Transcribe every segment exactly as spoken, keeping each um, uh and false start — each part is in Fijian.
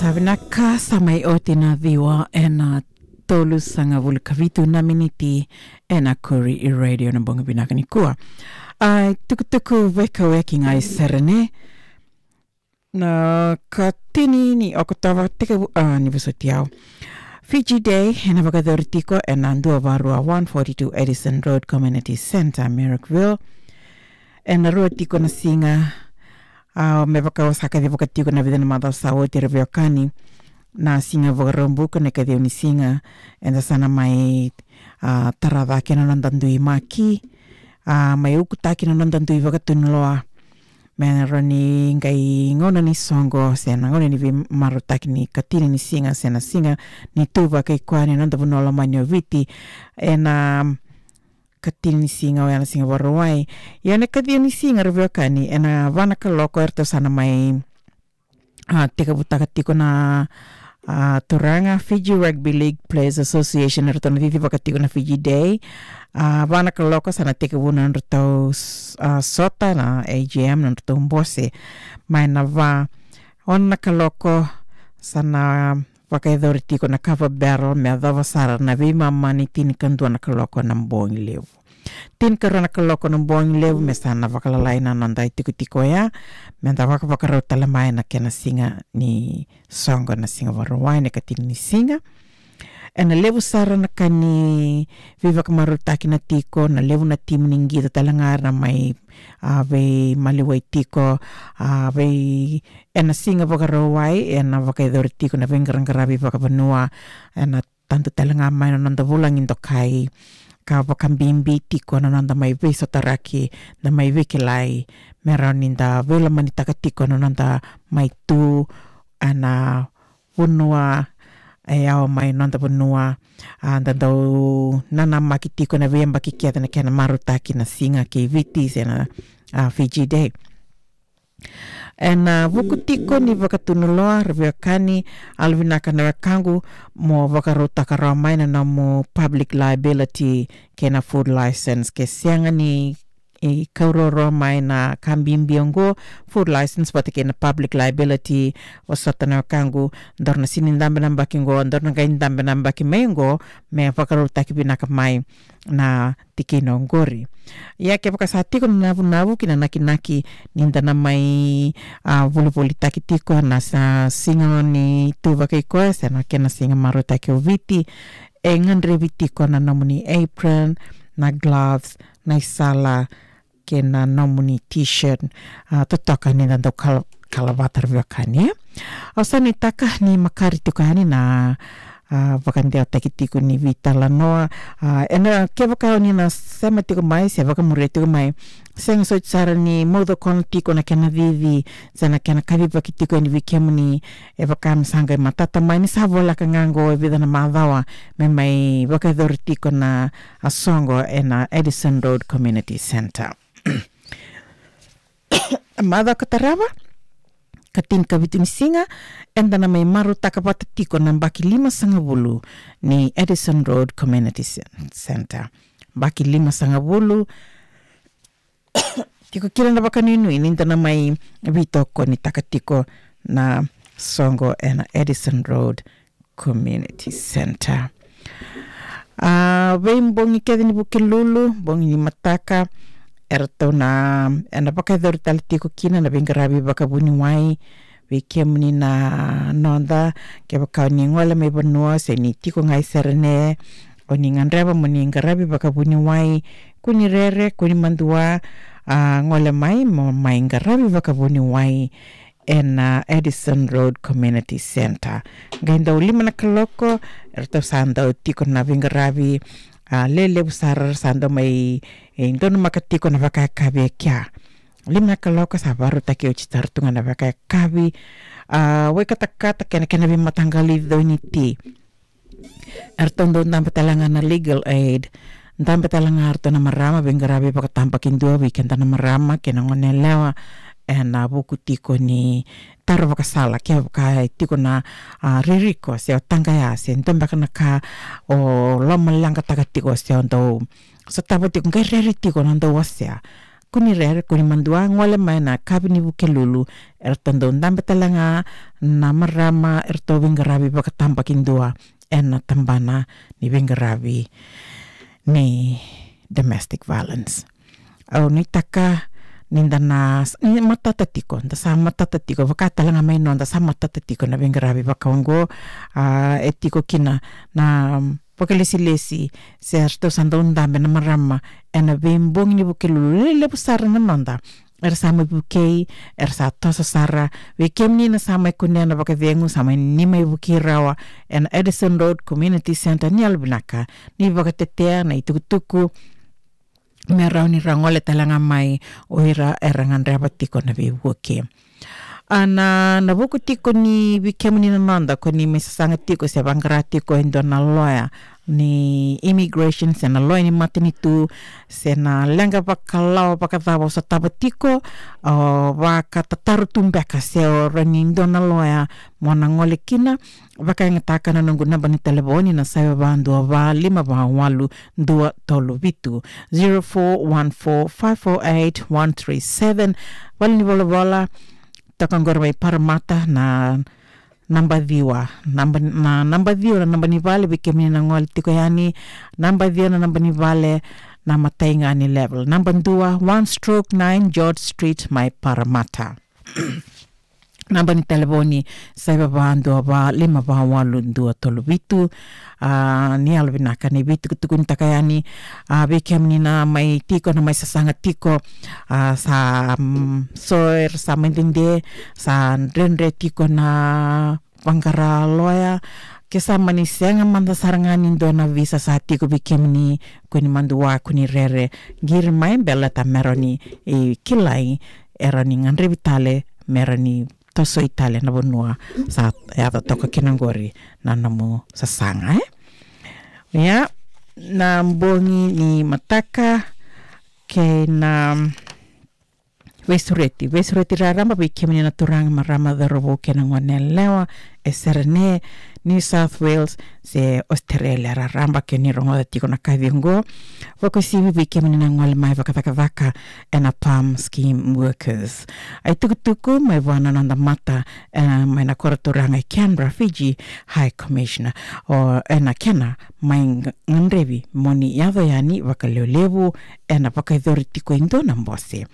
Tavinaka, sa mai oti na ciwa ena tolusagavulu ka vitu na miniti ena Koori Radio na bogi vinaka nikua. A, tukutuku vei kau e ki gai Serene. Na katini ni Okotova tekivu, a, ni vosoti au. Fiji Day, ena vakayacori tiko ena dua va rua one forty-two Addison Road Community Centre, Marrickville. Ena rua tiko na siga, a, me vaka au sa kacivaka tiko na vica na macawa sa oti, ra veiwekani. Na siga Vakaraubuka na ikaciwa ni siga, eda sa na mai, a, tara cake na noda dui maki, a, mai ukutaki na noda dui vakatunuloa. Me rawa ni qai gauna ni soqo, se na gauna ni veimarautaki ni katini ni siga, se na siga ni tu vakaikoya ni noda vanua lomani o Viti. Ena katini ni siga, oya na siga Vakarauwai. Ia na ikaciwa ni siga, ra veiwekani, ena va na kaloko eratou sa na mai, a, tekivutaka tiko na, a, turaga Fiji Rugby League Players Association, eratou na cicivaka tiko na Fiji Day. A, va na kaloko sa na tekivu na nodratou s-, a, sota, na A G M, na nodratou bose. Mai na va, ono na kaloko sa na vakayacori tiko na kava barrel, me yacova sara na veimama ni tinikadua na kaloko na bogi levu. Tinikarua na kaloko na bogi levu, me sa na vakalalai na noda itikotiko oya, me da vakavakarau tale mai na kena siga ni soqo, na siga Vakarauwai, na ikatini ni siga. Ena levu sara na ka ni veivakamarautaki na tiko, na levu na timi ni qito tale ga era na mai, a, veimaliwai tiko, a, vei, ena siga Vakarauwai, ena vakayacori tiko na veiqaraqaravi vakavanua, ena tadu tale ga mai na noda vulagi dokai, ka vakabibi tiko na noda mai veisotaraki, na mai veikilai, me rawa ni da veilomanitaka tiko na noda mai tu ena vanua e yawa mai noda vanua, a, da dau nanamaki tiko na veiyabaki kece na kena marautaki na siga kei Viti se na, a, Fiji Day. Ena vuku tiko ni vakatunuloa, ra veiwekani, yalovinaka na wekaqu mo vakarautaka rawa mai na nomu public liability kei na food licence. Ke sega ni, e, kauroro mai na ka bibi oqo, food licence vata kei na public liability, vosota na wekaqu, daru na sega ni dabe na yabaki oqo, daru na qai dabe na yabaki mai oqo, me vakarautaki vinaka mai na tikina oqori. Ia kevaka sa tiko na navunavu kei na nakinaki ni da na mai, a, volivolitaki tiko ena sa-, siga ni tu vakaikoya se na kena siga marautaki o Viti, e gadrevi tiko na nomuni apron, na gloves, na isala, kei na nomuni t-shirt, a, totoka ni da dau kala-, kalavata, ra veiwekani. Au sa nuitaka ni makare tiko yani na, a, vakadewataki tiko ni veitalanoa. A, ena kevaka o ni na sema tiko mai se vakamuria tiko mai, sega soti sara ni maucokona tiko na kena cici se na kena kacivaki tiko yani vei kemuni. E vaka me sa qai matata mai ni sa voleka ga oqo e vica na macawa me mai vakayacori tiko na, a, soqo ena Addison Road Community Centre. Macawa ka tarava, ka tinikavitu ni siga, eda na mai marautaka vata tiko na yabaki limasagavulu ni Addison Road Community Cen-, Centre. Yabaki limasagavulu, tiko kina na vakanuinui ni da na mai veitokonitaka tiko na soqo ena Addison Road Community Centre. A, veibogi kece ni Vukelulu, bogi ni mataka, eratou na, ena vakayacori tale tiko kina na veiqaravi vakavuniwai vei kemuni na noda. Kevaka o ni gole mai vanua se ni tiko ga i Serene, o ni gadreva mo ni qaravi vakavuniwai, kua ni rere, kua ni madua, a, gole mai mo mai qaravi vakavuniwai ena Addison Road Community Centre. Qai dau lima na kaloko, eratou sa dau tiko na veiqaravi, a, lelevu sara, sa dau mai, e, donumaka tiko na vakayakavi e kea. Lima na kaloko sa vakarautaki oti sara tu ga na vakayakavi, a, wekatakata kei na kena veimataqali coi ni ti. Eratou dau dabe tale ga na Legal Aid, dabe tale ga eratou na marama, veiqaravi vakatabakidua vei keda na marama kei na goneyalewa, ena vuku tiko ni taro vakasala, kevaka e tiko na, a, ririko se o taqaya se dua beka na ka o lomaleqataka tiko se o dau sotava tiko, qai rere tiko na dau wasea. kua ni rere, kua ni madua, gole mai na yakavi ni Vukelulu. Eratou dau dabe tale ga na marama eratou veiqaravi vakatabakidua ena tabana ni veiqaravi ni domestic violence. Au nuitaka ni da na, ni matata tiko, da sa matata tiko, vaka tale ga mai noda sa matata tiko na veiqaravi vaka oqo. A, e tiko kina na vakalesilesi se eratou sa dau dabe na marama ena veibogi ni Vukelulu, lelevu sara na noda. Era sa mai vukei, era sa toso sara. Vei kemuni na sa mai kunea na vakacegu, sa mai, ni mai vukei rawa ena Addison Road Community Centre, ni yalovinaka ni vakatetea na itukutuku me rawa ni ra gole tale ga mai o ira era gadreva tiko na veivuke. A, na, na vuku tiko ni vei kemuni na noda ko ni mai sasaga tiko se vaqara tiko e dua na loya ni immigration se na loya ni matanitu se na leqa vakalawa vakacava o sotava tiko, o vakatataro tu beka se o rawa ni dua na loya mo na gole kina, vakayagataka na noqu naba ni talevoni na saiva va dua va lima va walu dua tolu vitu, zero four one four five four eight one three seven. Vale ni volavola, toka qori mai Parramatta na naba ciwa, naba, na naba ciwa na naba ni vale vei kemuni na gole tiko yani, naba ciwa na naba ni vale na imatai ga ni level, naba dua, one stroke nine George Street mai Parramatta. Naba ni talevoni, saiva va dua va lima va walu dua tolu vitu. A, ni yalovinaka ni veitukutukunitaka yani, a, vei kemuni na mai tiko, na mai sasaga tiko, a, sa, mm, so era sa mai dede, sa dredre tiko na vaqara loya, ke sa mani sega mada sara ga ni dua na visa sa tiko vei kemuni, kua ni madua, kua ni rere, qiri mai, baleta me rawa ni, e, kilai, e rawa ni gadrevi tale, me rawa ni tosoi tale na vanua sa yaco toka kina qori na nomu sasaga, e? Ia, na bogi ni mataka kei na veisureti, veisureti raraba vei kemuni na turaga, marama, cauravou kei na gone yalewa e Serene, New South Wales se Australia raraba, ke ni rogoca tiko na kaci oqo. Vakauasivi vei kemuni na gole mai vakacakacaka ena PALM scheme workers. A itukutuku mai vua na noda mata, e, mai na koro turaga e Canberra, Fiji High Commissioner, o, ena kena mai ga-, gadrevi mo ni yaco yani vakalevulevu, ena vakayacori tiko e dua na bose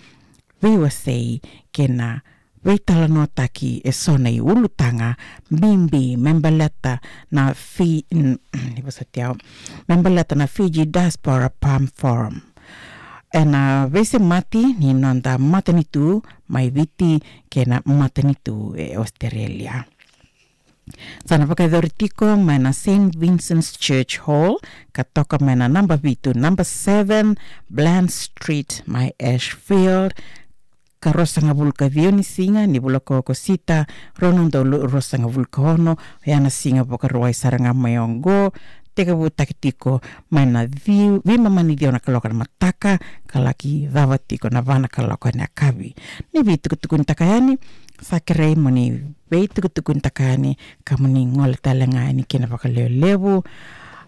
veiwasei kei na veitalanoataki eso na iulutaga bibi me baleta na Fi-, n-, ni vosoti au, me baleta na Fiji Diaspora PALM Forum. Ena veisemati ni noda matanitu mai Viti kei na matanitu e Australia. Sa na vakayacori tiko mai na Saint Vincent's Church Hall, ka toka mai na naba vitu, naba seven Bland Street mai Ashfield, ka ruasagavulu ka ciwa ni siga ni vula ko Okosita, rua na udolu ruasagavulu ka ono, oya na Siga Vakarauwai sara ga mai oqo, tekivutaki tiko mai na ci-, veimama ni ciwa na kaloko na mataka, ka laki cava tiko na va na kaloko ena yakavi. Ni veitukutukunitaka yani, sa kerei mo ni veitukutukunitaka yani, ka mo ni gole tale ga yani kina vakalevulevu.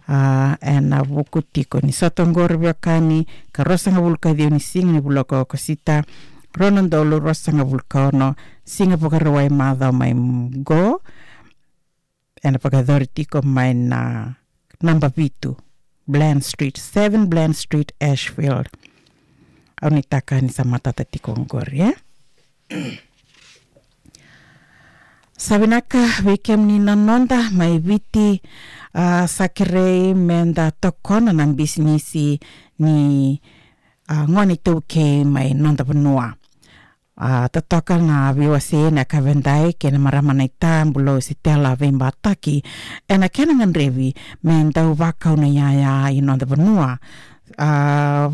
A, ena vuku tiko ni sota oqori veiwekani, ka ruasagavulu ka ciwa ni siga ni vula ko Okosita, rua na udolu ruasagavulu ka ono, Siga Vakarauwai macawa mai oqo, ena vakayacori tiko mai na naba vitu Bland Street, seven Bland Street, Ashfield. Au nuitaka ni sa matata tiko oqori, e? Sa vinaka vei kemuni na noda mai Viti, a, sa kerei me da tokona na bisinisi ni, a, gone iTaukei mai noda vanua. A, totoka na veiwasei ena yakavi edai kei na marama naita Bulou Sitela Veibataki ena kena gadrevi me dau vakau na iyaya i noda vanua. A,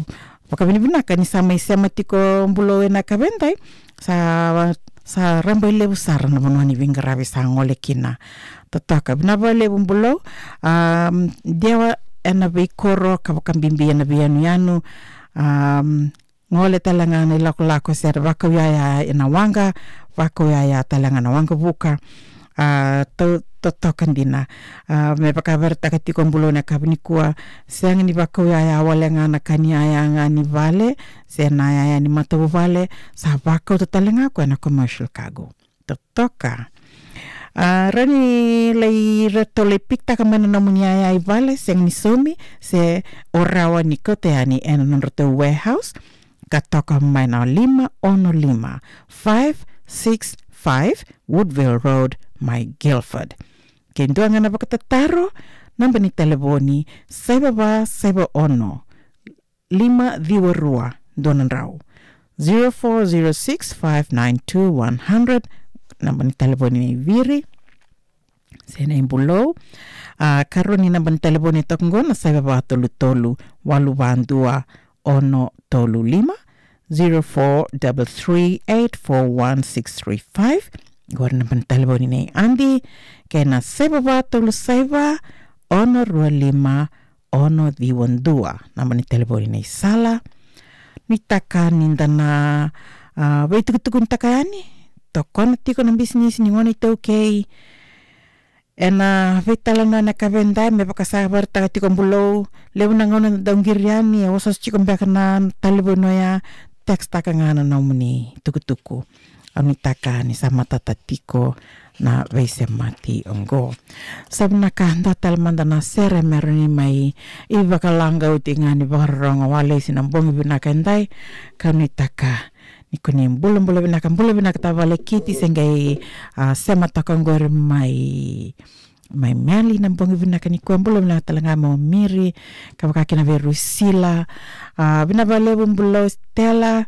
vakavinavinaka ni sa mai sema tiko Bulou ena yakavi edai, sa, sa rabailevu sara na vanua ni veiqaravi sa gole kina. Totoka, vinaka vakalevu Bulou. A, dewa ena veikoro ka vakabibi ena veiyanuyanu. A, gole tale ga na ilakolako se ra vakau iyaya ena waqa, vakau iyaya tale ga na waqavuka. A, tau, totoka dina. A, me vakaveraitaka tiko Bulou na yakavi nikua, sega ni vakau yaya wale ga na ka ni yaya ga ni vale, se na yaya ni matavuvale, sa vakauta tale ga o koya na commercial cargo. Totoka. A, rawa ni lai, ratou lai pikitaka mai na nomuni yaya i vale, sega ni saumi, se o rawa ni kauta yani ena nodratou warehouse, ka toka mai na lima ono lima, five six five Woodville Road, mai Guildford. Ke dua ga na vakatataro, naba ni talevoni, saiva va saiva ono, lima ciwa rua, dua na drau. Zero four zero six five nine two one hundred, naba ni talevoni nei Viri se nei Bulou. A, karua ni naba ni talevoni toka qo na saiva va tolu tolu, walu va dua, ono tolu lima, zero four double three eight four one six three five. Qori na naba ni talevoni nei Adi, kei na saiva va tolu saiva, ono rua lima, ono ciwa dua, naba ni talevoni nei Sala. Nuitaka ni da na, a, veitukutukunitaka yani, tokona tiko na bisinisi ni gone iTaukei ena veitalanoa ena yakavi edai, me vaka sa vakaraitaka tiko Bulou, levu na gauna da dau qiri yani, e osooso tiko beka na talevoni oya, texttaka ga na nomuni tukutuku. Au nuitaka ni sa matata tiko na veisemati oqo. Sa vinaka, dua tale mada na sere me rawa ni mai vakalagauti ga ni vakarorogo walesi na bogi vinaka edai, ka nuitaka ni koni bulabula vinaka, bula vinaka tavalekiti se qai, a, sema toka qori mai, mai Meli na bogi vinaka nikua, bula vinaka tale ga mo Miri, ka vaka kina vei Rusila, a, vinaka vakalevu Bulou Stella,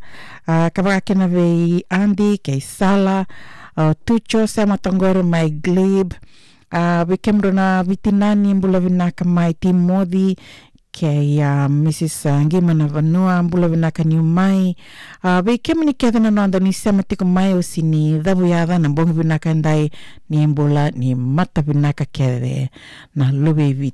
a, ka vaka kina vei Adi kei Sala, a, Tuco sema toka qori mai Glebe, a, vei kemudrau na vitinani bula vinaka mai Timoci, kei, a, Mrs, a, Qimanavanua, bula vinaka niu mai. A, vei kemuni kece na noda ni sema tiko mai, au sega ni cavuyaca na bogi vinaka edai, ni bula ni mata vinaka kece na luve i Viti.